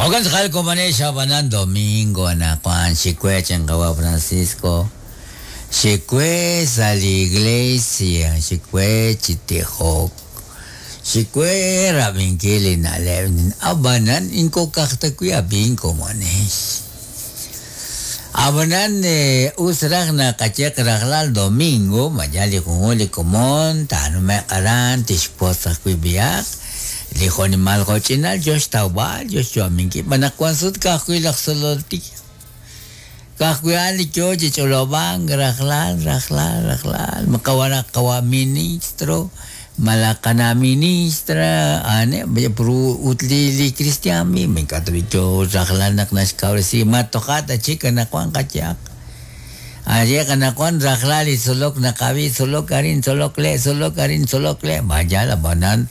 Jo'kan tz'aqal komonex ab'anan domingo anaqwan xikwe chan qawa' Francisco xikwe sa' li iglesia xikwe chi tijok xikwe rab'inkil li na'leb' ab'anan ink'o ka'aj ta wi' ab'ink komonex ab'anan us raj naqaye rajlal domingo maye li junjunq li komon taanume'q aran tixwotz ajwi' b'ihaq li jo'nimal jo'ch'inal yo xtawb'al yo xyu'aminkil xb'aan naq wan sut ka'ajwi' laj tzolol tij ka'ajwi' a'an li yo chi ch'olob'ank rajlal rajlal rajlal qawa' qawa' ministro malaj qana' ministra a'aneb' ut li cristian mismo ink'a' ta b'i' yo rajlal naq naxkawresi ma toja' ta chik anaqwan qayehaq aye anaqwan rajlal li tzolok naqab'i tzolok arin tzolok le' tzolok arin tzolok le' vaya ab'anan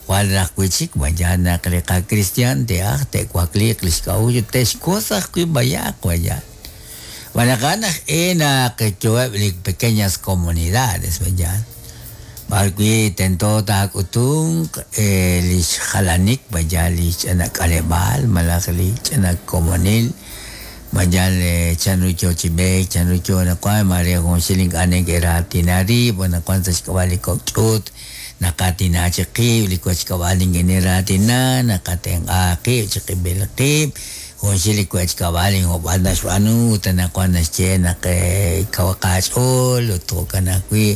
jwal raj wi' chik vaya naq li qacristian te'aj te'wakliiq li xk'a'uxl ut te'xwotz ajwi' b'ayaq vaya xb'aan naq a'an aj e naq yoheb' li pequeñas comunidades vaya b'ar wi' tento taak'utunq li xjalanik vaya li ch'ina k'aleb'aal malaj li ch'ina komonil vaya chanru yo chi b'eek chanru yo anaqwan mare junxil ink'a' neke'raatina rib' anaqwan sa' xk'ab'a' li kok' ch'uut naqaatina chi qib' li wechkab'al nikiniraatina naqatenq'a qib' chiqib'il qib' junxil li wechkab'al injob'al naxb'aanu ut anaqwan naxye naq kaw qach'ool ut jo'kan ajwi'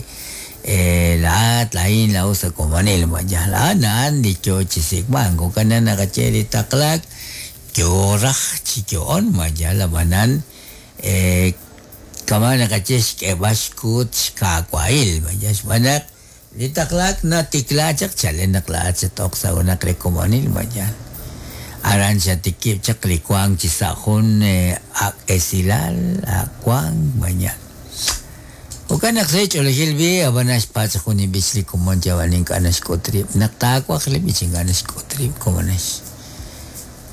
laa'at laa'in laa'o sa' komonil vaya a'an a'an li yo chi sik'mank jo'kan naq naqaye li taqlaak yo raj chi yo'on vaya ab'anan kama' naqaye xk'eeb'al xkuut xkaawail vaya xb'aan naq li taqlaak natikla chaq chalen naq laa'at xat-ok sa' junaq li komonil vaya aran xatikib' chaq li wank chi sa' jun ak' esilal ak' wank vaya jo'kan naq sa' ch'oolejil b'i ab'an naxpatz' jun li b'ich li komon ab'an ink'a' naxk'ut rib' naq taawaj li b'ich ink'a' naxk'ut rib' komonex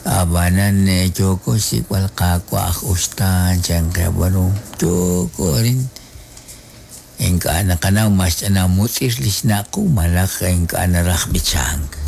ab'anan yooko xsik'b'al qaawa' aj uxtaan chan qe ab'anu yooko arin ink'a' naqanaw ma xch'ina mutz'ir li xnaq' qu malaj ink'a' naraj b'ichank.